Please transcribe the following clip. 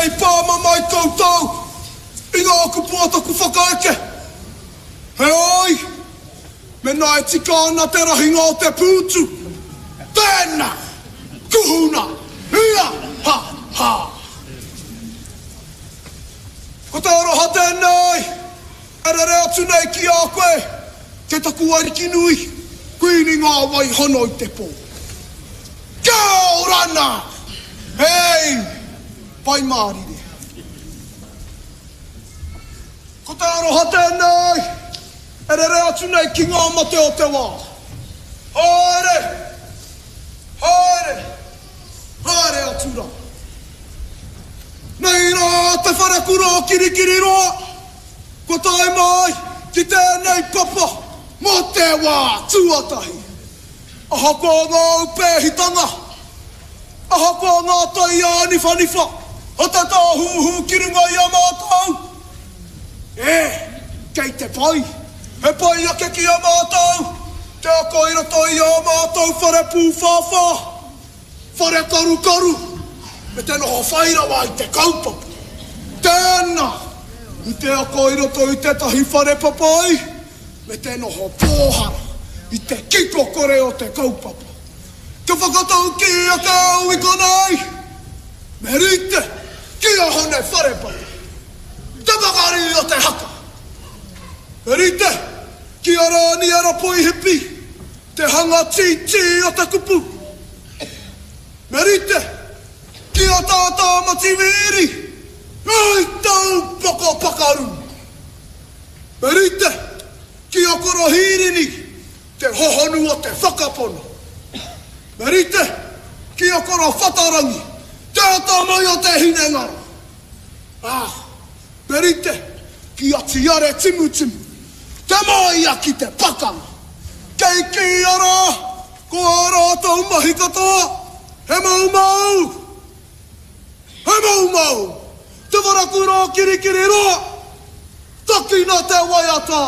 i pāmamae koutou i ngā kupu o taku whakaeke. Heoi, mēnā e tika ana te rahinga o te pūtu, tēnā, kuhuna, ia, ha, ha. Ko te aroha tēnei e rere atu nei ki a koe, kei taku ariki nui, Kuini ngā wai hono i te pō. Kia orana! Hei! Pai mārire. Ko te aroha tēnei e rere atu nei ki ngā mate o te wā. Haere! Haere! Haere atu rā. Nei rā te wharekura o Kirikiriroa, kua tae mai ki tēnei papa mō te wā tuatahi. Ahakoa ngā aupēhitanga, ahakoa ngā tai āniwhaniwha o te tāhuhu ki runga i a mātou, e, kei te pai, he pai ake ki a mātou te ako i roto i ā mātou whare pūwhāwhā, whare karukaru, me te noho whai rawa i te kaupapa. Tēnā, i te ako i roto i tētahi whare papai, me te noho pōhara i te kiko kore o te kaupapa. Kia whakataukī ake au i konei, me rite ki a Hone Wharepapa, te pakari o te haka. Me rite ki a Rāniera Poihipi, te hanga tītī o te kupu. Me rite ki a Tā Tāmati Wīri, hei taupoko pakaru. Me rite ki a Koro Hīrini te hohonu o te whakapono. Me rite ki a Koro Whatarangi te atamai o te hinengaro. Ā, me rite ki a Tiare Timutimu te māia ki te pakanga. Kei kīia rā ko ā rātou mahi katoa he moumou! He moumou! Te wharakura o Kirikiriroa! Takina te waiata!